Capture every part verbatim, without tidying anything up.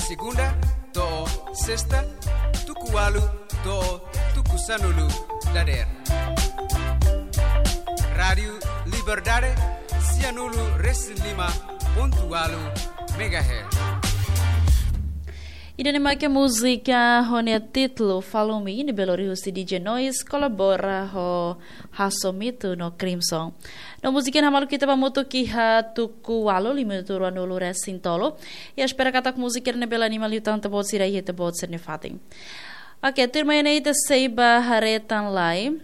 Segunda to'o sesta, tuku ualu to'o tuku sanulu dadeer. Rádiu Liberdade, sianulu resin lima pontu ualu megahertz. Ida-ne'e mak múzika ho nia títulu Follow Me, ne'ebé lori husi D J Noise, kolabora ho Haso Mito no Crimson. No múzika ne'e hamaluk ita ba hamutuk iha tuku ualu, lima minutu ruanulu resin tolu. I espera katak múzika ne'e bele anima liután ita-boot sira iha ita-boot sira-nia fatin. Oke, tuirmai ne'e ita sei ba haree tan lai.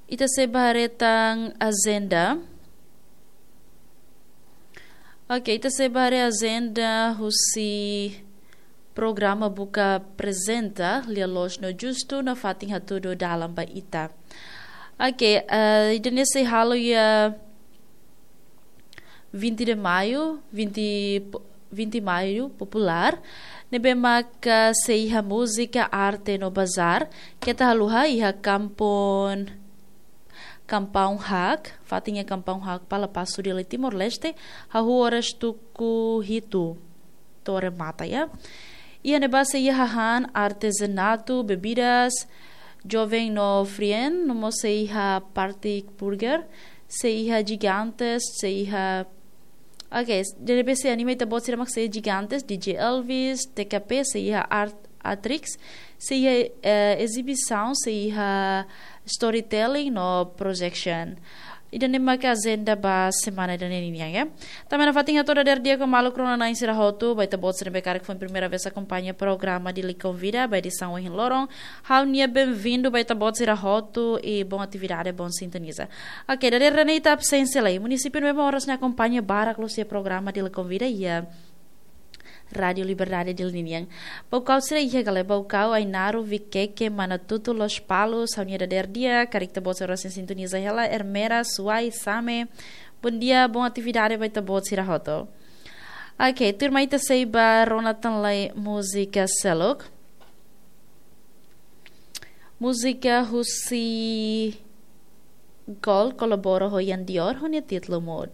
Ita sei ba haree tan ajenda. Oke, ita sei ba haree ajenda husi programa Buka Aprezenta, Lia Loos no Justu, no fatin hatudu dalan ba ita. Oke, eh, ida-ne'e sei halo iha vinte de Maio, vinte, vinte Maio Popular, ne'ebé maka sei iha múzika, arte no bazar, keta haluha iha kampung, Kampung Hak, fatin iha Kampung Hak, Palapasu, Dili, Timor-Leste, hahú oras tuku hitu to'o remata ya. Iha ne'ebá sei iha hahán artezanatu, bebidas, joven no frien, no mós sei iha party burger, sei iha Gigantes, sei iha, oke, ida-ne'ebé sei anima ita-boot sira mak sei Gigantes, D J Elvis, T K P, sei iha Art Atrix, sei iha, eh, ezibisaun, sei iha storytelling no projection. Ida-ne'e maka ajenda ba semana ida-ne'e ninian, ya. Tanba ne'e fatin hato'o dadeer di'ak ho maluk rona-na'in sira hotu, ba ita-boot sira ne'ebé karik foin primeira vez akompaña programa Dili Konvida, ba edisaun ohin loron, ha'u-nia benvindu ba ita-boot sira hotu, i bom atividade, bom sintoniza. Oke, dadeer ne'e ita absénsia lai. Munisípiu ne'ebé mak oras ne'e akompaña barak loos iha programa Dili Konvida, iha Rádiu Liberdade Dili ninian. Baucau sira iha ka lae? Baucau, Ainaro, Viqueque, Manatuto, Lospalos, ha'u-nia dadeer di'ak, karik ita-boot sira oras ne'e sintoniza hela, Ermera, Suai, Same. Bondia, bom atividade ba ita-boot sira hotu. Oke, tuirmai ita sei ba rona tan lai múzika seluk. Múzika husi Gol kolabora ho Yan Dior, ho nia títulu Mood.